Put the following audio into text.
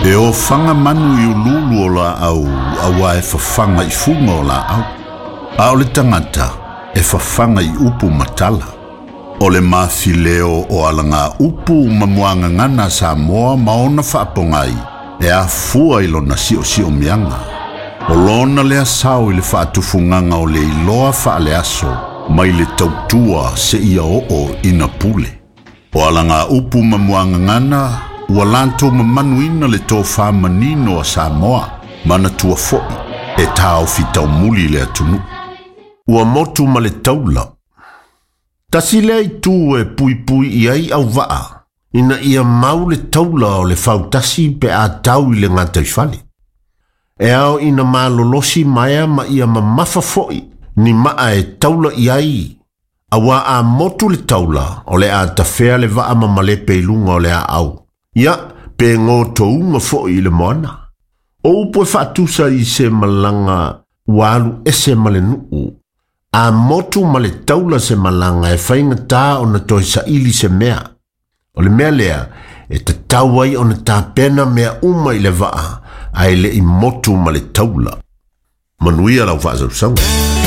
E ofaga manu i uluulu o laau auā e fafaga i fuga o laau. A o le tagata e fafaga i upu ma tala. O le mafileo o alaga upu ma muagagana a Samoa ma ona faapogai e afua i lona siosiomiaga. O lona lea sao i le faatufugaga o le iloa faaleaso mai le tautua seia oo ina pule. O alaga upu ma muagagana ua latou mamanuina le tofā manino a Samoa manatua foi e taofi taumuli le atunuu. Ua motu ma le taula. Tasi lea itu e puipui i ai auvaa, ina ia mau le taula o le fautasi pe a tau i le gataifale. E ao ina malolosi maea ma ia mamafa foi ni maa e taula i ai, auā a motu le taula o le a tafea le vaa ma malepe i luga o le aau. Ia, pe gotouga foi i le moana. O upu e faatusa i se malaga ua alu ese ma le nuu, a motu ma le taula se malaga e faigatā ona toe saili se mea. O le mea lea e tatau ai ona tapena mea uma i le vaa ae le i motu ma le taula. Manuia lau faasausauga.